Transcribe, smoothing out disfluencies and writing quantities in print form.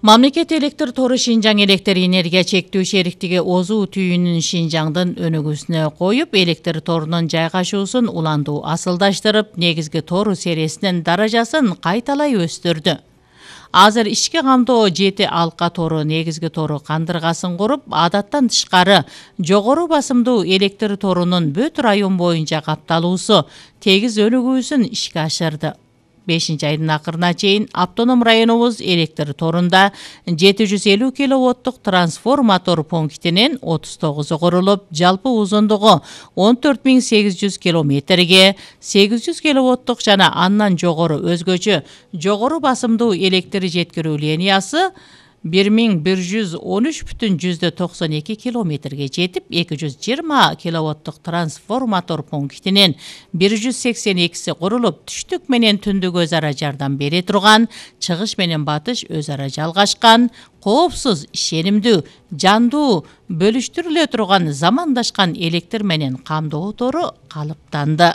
Мамлекет электр тору Шинжаң электр энергия чектөө шериктиги Озу түйүнүн Шинжаңдын өнүгүүсүнө коюп, электр торунун жайгашуусун улантуу асылдаштырып, негизги тору серисинин даражасын кайталай өстүрдү. Азыр ички камдоо 7 алка тору негизги тору кандыргасын куруп, адаттан тышкары жогору басымдуу электр торунун бүт район боюнча капталуусу тегиз өнүгүүсүн ишке ашырды. 5-айдын акырына чейин автоном районубуз электр торунда 750 киловаттык трансформатор пунктинин 39 курулуп, жалпы узундугу 14800 километрге 800 киловаттык жана андан жогору өзгөчө жогору басымдуу электр жеткирүү линиясы 1113,92 километрге жетип, 220 киловаттык трансформатор пунктинин 182 курулуп, түштүк менен түндүк өз ара жардам бере турган, чыгыш менен батыш өз ара жалгашкан, коопсуз, ишенимдүү, жандуу, бөлүштүрүлө турган, замандашкан электр менен камдоо тору калыптанды.